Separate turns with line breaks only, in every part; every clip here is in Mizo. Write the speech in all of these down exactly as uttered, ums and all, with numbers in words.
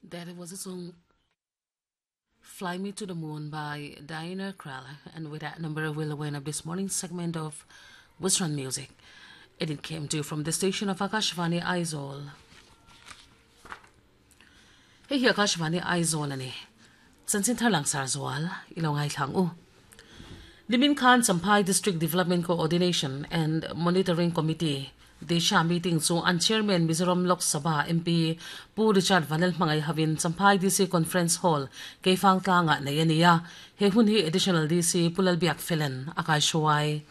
That was a song Fly Me to the Moon by Diana Krall. And with that number, we'll wind up this morning's segment of Western Music. It came to you from the station of Akashvani Aizawl. Hei hi Akashvani Aizawl ani. Chanchin thar langsar zual ilo ngai thlang u. Nimin Khan Champhai District Development Coordination and Monitoring Committee Disha meeting chu an chairman Mizoram Lok Sabha M P Pu Richard Vanlalhmangaih havin Champhai D C Conference Hall Keifang tlanga nei ania he hun hi additional D C Pu Lalbiak Felen akai hruai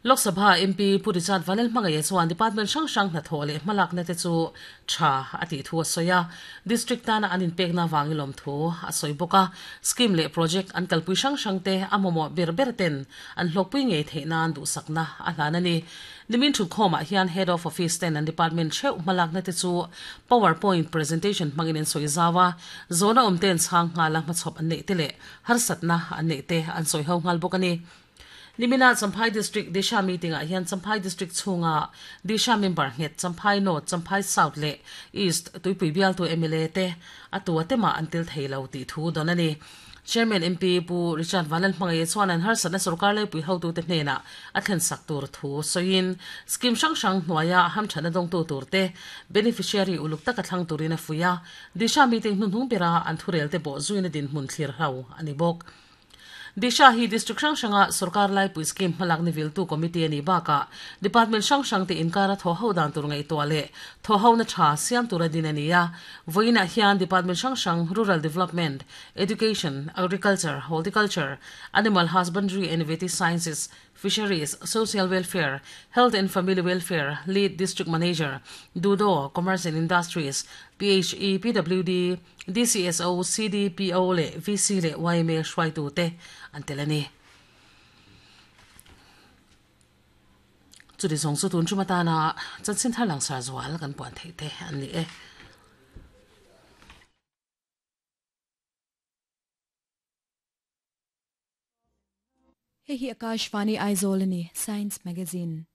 Lok Sabha M P Pu Richard Vanlalhmangaih chuan department hrang hrang hna thawh leh hmalak na te chu tha ati thu a sawi district tana an inpekna wangilawm thu a sawi bawk a scheme leh project an kalpui hrang hrang te a mamawh ber ber ten an hlawkpui ngei theih nan duhsakna a hlan ani nimin thu khawmah hian head of office ten an department theuh hmalak na te chu PowerPoint presentation hmangin an sawi zawa zona awm ten chhang nghala hmachhawp an neih te leh harsatna an neih te an sawi ho nghal bawk ani Nimina Champhai District Disha meeting ah hian Champhai District chhunga Disha member nget Champhai North Champhai South le East tuipui bial tu M L A te atua tema an tel theilo ti thu don ani Chairman M P Pu Richard Vanlalhmangaih chuan an harsatna sarkar le pui hotu te hnena a thlen sak tur thu soin scheme hrang hrang hnuaia hamthana dawng tu tur te beneficiary uluk taka thlang turin a fuia Disha meeting hnunhnung bera an thurel te bo zuina din hmun thlir ho ani bawk Disha hi district hrang hranga sarkar lai pui scheme hmalak ni viltu committee ani baka department hrang hrang te inkara tho ho dan tur ngai to le tho ho na tha siam tur adin ania voina hian department hrang hrang rural development education agriculture horticulture animal husbandry and veterinary sciences fisheries social welfare health and family welfare lead district manager dudo commerce and industries P H E P W D D C S O C D P O le V C le Y M A hruai tu te an telani chu di zong chu tun chu matana chanchin thar lang sar zual kan puan thei te an ni e
Hei hi Akashvani Aizawl ani Science Magazine.